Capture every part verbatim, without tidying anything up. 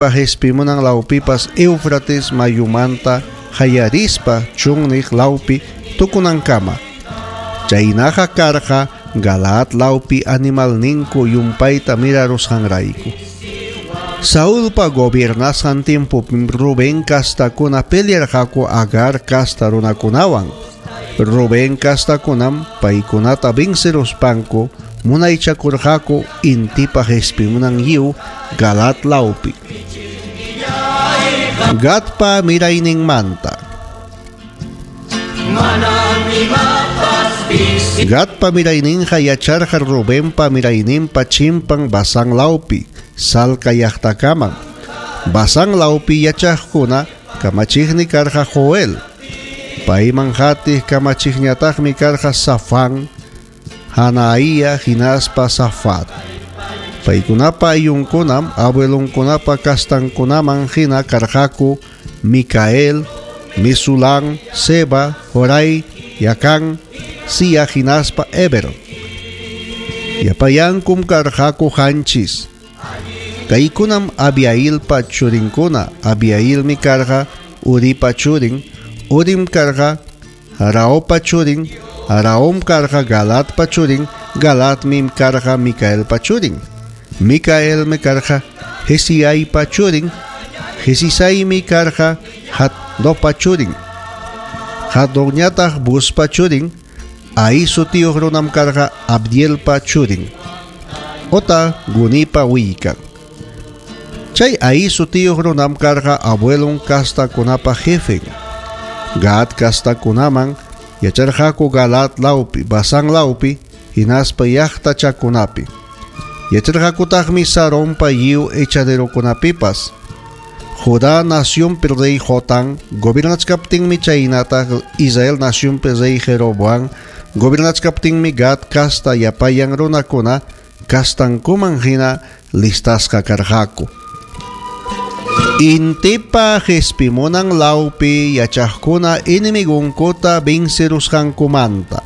Qespimunan lawpipas Éufrates mayumanta hayarispa chunniq lawpi tukunankama. Chaynaqa karqa Galaad lawpi animalninku llumpayta mirarusqanrayku. Saulpa gobiernasqan tiempopim Rubén kastakuna pelearqaku Agar kasta runakunawan. Rubén kastakunam paykunata venceruspanku munaychakurqaku intipa qespimunan lliw Galaad lawpi. Gadpa mirayninmanta. Gadpa mirayninqa yacharqa Rubenpa mirayninpa chimpan Basán lawpi, Salca llaqtakaman. Basán lawpi yachaqkuna kamachiqmi karqa Joel. Payman qatiq kamachiqñataqmi karqa Safán, Hanaía hinaspa Safat. Paykunapa ayllunkunam abuelonkunapa kastankunaman hina karqaku Micael, Mesulán, Seba, Jorai, Yacán, Sia hinaspa Eber. Llapayankum karqaku qanchis. Kaykunam Abiailpa churinkuna. Abiailmi karqa Uripa churin, Urim karqa Haraopa churin, Haraom karqa Galadpa churin, Galadmi karqa Micaelpa churin. Micaelmi karqa Jesiaipa churin, Jesisaymi karqa Jaddopa churin. Jaddoñataq Buspa churin, Ahí sutiyuq runam karqa Abdielpa churin. Ota Gunipa willkan. Chay Ahí sutiyuq runam karqa abuelon kastakunapa jefen. Gad kastakunaman yacharqaku Galaad lawpi, Basán lawpi, hinaspa llaqtachakunapi. Yacharqakutaqmi Saronpa lliw echaderokunapipas. Judá nacionpi rey Jotán gobernachkaptinmi chaynataq Israel nacionpi rey Jeroboam gobernachkaptinmi Gad kasta llapayan runakuna kastankuman hina listasqa karqaku. Intipa qespimunan lawpi yachaqkuna enemigonkuta vencerusqankumanta.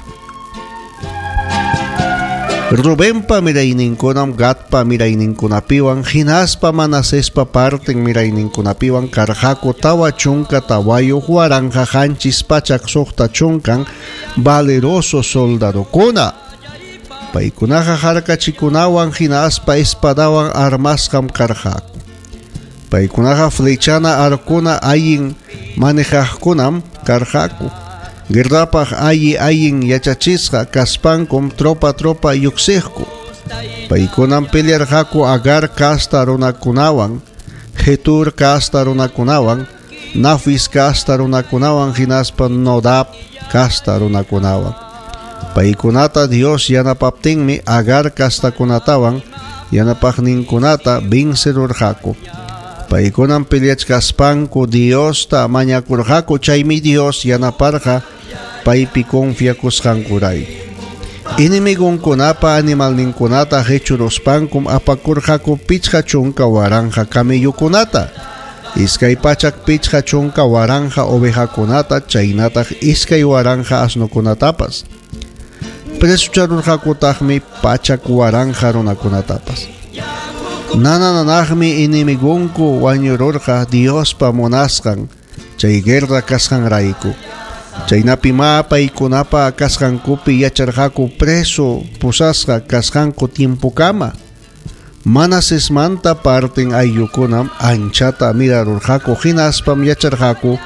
Rubenpa mirayninkunam Gadpa mirayninkunapiwan hinaspa Manasespa parten mirayninkunapiwan karqaku tawa chunka tawayuq waranqa qanchis pachak suqta chunkan valeroso soldadokuna. Paykunaqa harkachikunawan hinaspa espadawan armasqam karqaku. Paykunaqa flechana arkuna allin manejaqkunam karqaku. Guerrapaq alli allin yachachisqa kaspankum tropa tropa lluqsiqku. Paykunam pelearqaku Agar kasta runakunawan, Jetur kasta runakunawan, Nafis kasta runakunawan hinaspa Nodab kasta runakunawan. Paykunata Dios yanapaptinmi Agar kastakunatawan yanapaqninkunata vencerurqaku. Paykunam peleachkaspanku Diosta mañakurqaku, chaymi Dios yanaparqa paypi confiakusqankurayku. Enemigonkunapa animalninkunata qechuruspankum apakurqaku pichqa chunka waranqa camellokunata, iskay pachak pichqa chunka waranqa ovejakunata, chaynataq iskay waranqa asnokunatapas. Presucharurqakutaqmi pachak waranqa runakunatapas. Nanananaqmi enemigonku wañururqa Diospa munasqan chay guerra kasqanrayku. Chaynapi ma paykunapa kasqankupi yacharqaku preso pusasqa kasqanku tiempokama. Manasesmanta parten ayllukunam anchata mirarurqaku hinaspam yacharqaku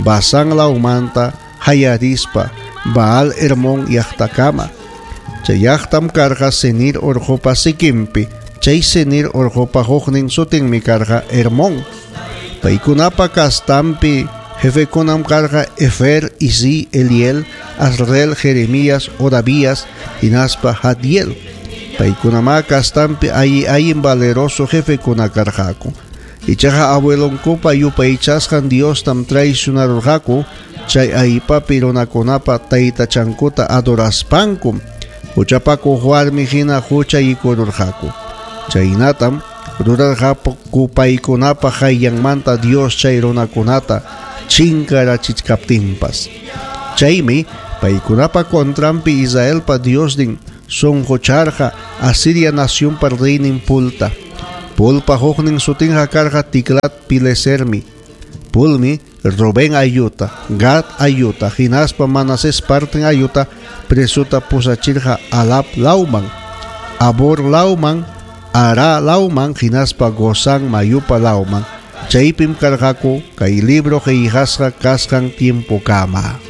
Basán lawmanta hayarispa Baal Hermón llaqtakama. Chay llaqtam karqa Senir urqupa sikinpi. Chay Senir urqupa huknin sutinmi karqa Hermón. Paykunapa kastampi jefekunam karqa Efer, Isi, Eliel, Azrel, Jeremías, Odavías hinaspa Jadiel. Paykunama kastampi alli allin valeroso jefekuna karqaku. Ichaqa abuelonkupa yupaychasqan Diostam traicionarurqaku chay aypapi runakunapa taytachankuta adoraspankum huchapakuq warmi hina huchaykururqaku. Chaynatam rurarqaku paykunapa qayllanmanta Dios chay runakunata chinkarachichkaptinpas. Chaymi paykunapa contranpi Israelpa Diosnin sunqucharqa Asiria nacionpa reynin Pulta. Pulpa huknin sutinqa karqa Tiglat Pilesermi. Pulmi Rubén ayuta, Gad ayuta, hinaspa Manasés parten ayuta presuta pusachirqa Alab lawman, Abor lawman, Ara lawman, hinaspa Gozán mayupa lawman. Chaypim karqaku kay libro qillqasqa kasqan tiempokama.